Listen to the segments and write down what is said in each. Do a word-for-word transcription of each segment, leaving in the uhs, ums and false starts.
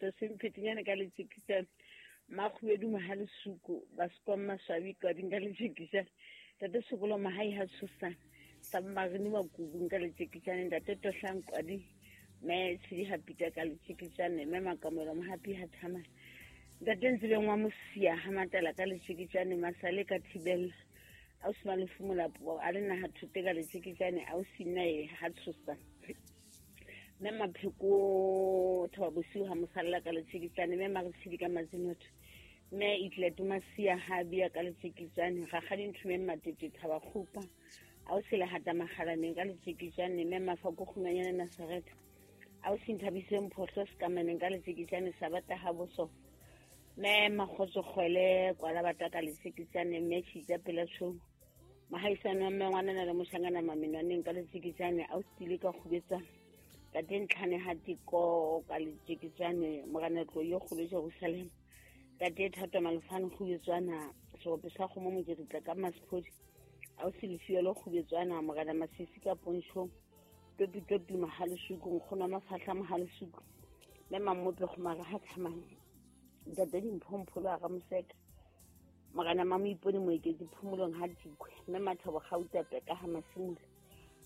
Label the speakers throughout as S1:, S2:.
S1: Festus Mphetinyane ka letjekisane Makhubedu Mahalesuku Baskom Maswabi Kwading ka letjekisane Ntate Sekolo Mahai ha Tshosane Submarine wa Kubung ka letjekisane Ntate Tohlang Kwadi Me Tshidi ha Pita ka letjekisane Me Makamelo Mohapi ha Thamane Ntate Ntsibeng wa Mosia ha Matala ka letjekisane Masale ka Thibella Ausi Malefu Molapo a le naha thote ka letjekisane ausi Nnae ha Tshosane Me Mapheko Thaba Bosiu ha Mosalla ka letjekisane Me Maretshidi ka Mazinotho Me Itleto Masia ha Bia ka letjekisane Rakgadi Nthumeng Matete Thaba Kgupa ausi Lehata Makgalaneng ka letjekisane Me Mafako Kgumanyane Nasaretha ausi Nthabiseng Phohlo Sekameneng ka letjekisane Sabata ha Boso Me Makgotso Kgwele Kwala Bata ka letjekisane Me Tshitsa Pela Tshou Mahaisane wa mme ngwanana le moshangana Mamenwaneng ka letjekisane ausi Tile ka Kgubetsana Tate Ntlhane ha Tiko ka letjekisane Moranetlo yo kgolo Jerusalem Tate Thato Malefane Kgubetswana Serope sa kgomo Mokeritla ka Masphodi ausi Lefielo Kgubetswana Morena Masisi ka Ponchong Topi Topi Mahalesuku Nkgono wa Mafahla Mahalesuku Me Mammope Kgomara ha Thamane Ntate Dimpho a Ramoseka Morena Mamoipone Moeketsi Phomolong ha Dikwe Me Mathabo Gauta Peka ha Masimula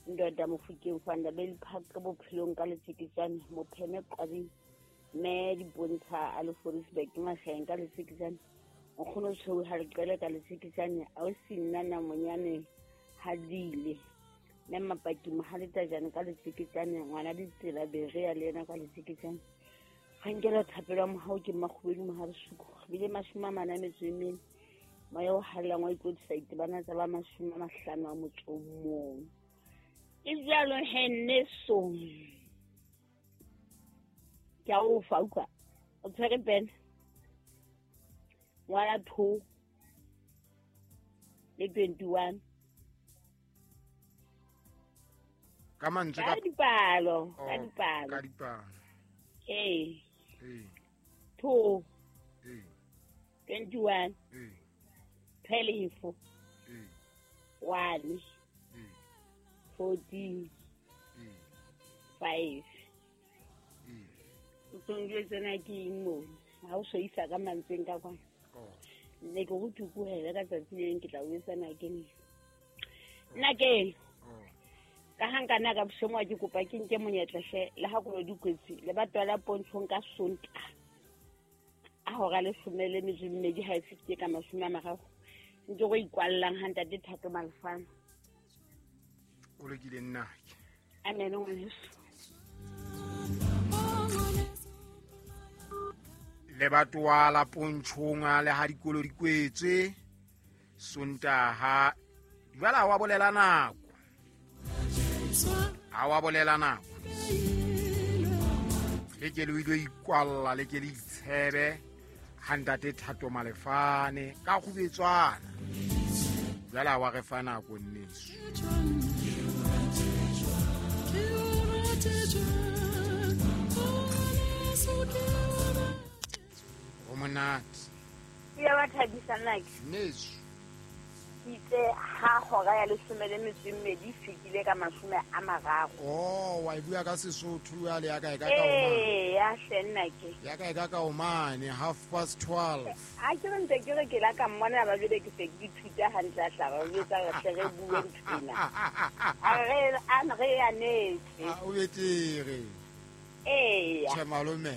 S1: Ndoda Mofokeng Fanda Park Bophelong ka letjekisane Mopheme Qwabing Me Dipontsha a le Forisburg Mahleng ka letjekisane Nkgono Tshweu ha Leqele ka letjekisane ausi Nnana Monyane ha Dile Me Mapaki Mohaletajane ka letjekisane Ngwana Ditsela Berea le yena ka letjekisane Ga nkela thapelo ya mohau ke Makhubedu Mohalesuku bile mashome a mane a metso e mene moya o hallang wa ikwetlisa itebana tsa ba mashome a mahlano a motso o mong ke jalo he nneso ke a o fa utlwa o tshwere pene ngwala two le twenty-one
S2: ka mantswe
S1: ka dipalo ka dipalo
S2: ka dipalo
S1: ee
S2: ee
S1: two
S2: ee
S1: twenty-one
S2: ee
S1: twelve
S2: ee
S1: one
S2: ee
S1: fourteen
S2: ee
S1: five
S2: ee
S1: o tsongwe tsena ke eng moo ha o so isa ka mantsweng ka kwana
S2: oh
S1: ne ke go tukuhele ka tsatsi le leng ke tla o etsana ke nne nna ke
S2: oh
S1: ka ha nka nna ka bosengwa ke kopa ke nke monyetla hle le ha kolo dikwetsi le batho la Pontshong ka Sontaha a hora leshome le metso e mmedi ha e fetile ka mashome a mararo ntse go ikwallang ha Ntate Thato Malefane
S2: o lokile nnake
S1: amen ngwaneso
S2: le batho la Pontshong le ha dikolo di kwetswe Sontaha jwale ha wa bolela nako ha wa bolela nako le ke le o ile ikwalla le ke le itshebe ha Ntate Thato Malefane ka Kgubetswana jwale ha wa re fa nako nneso o monate
S1: ya ba thabisa nnake
S2: nneso
S1: itse ha hora ya leshome le metso e mmedi e fetile ka mashome a mararo
S2: oh wa e bua ka Sesotho jwale ya ka e ka ka o mane
S1: ee ya hle nnake
S2: ya ka e ka ka o mane half past twelve
S1: ha ke re ntse ke re ke la ka mmona ba jwale ke se ke ithuta hantle a hlaba o etsa re hle re bue nthwena a re a re ya netse
S2: ah o betere
S1: eya
S2: tjhe malome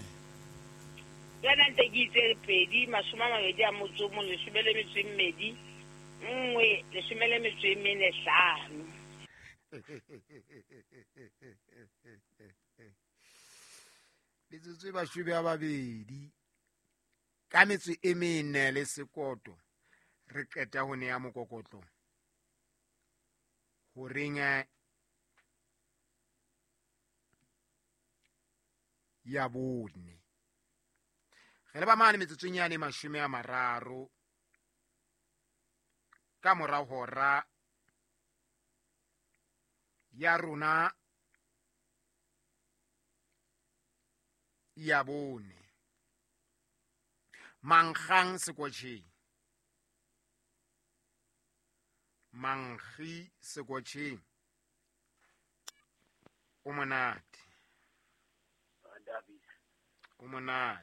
S1: yona ntse ke itse pedi mashome a mabedi a motso o mong leshome le metso e mmedi nngwe leshome le metso e mene hlano
S2: metsotso e mashome a mabedi ka metso e mene le sekoto re qeta ho neya mokokotlo horeng ya bone re le ba mane metsotsong yane mashome a mararo ka mora hora ya rona ya bone Mankgang sekotjheng mankgi sekotjheng o monate o monate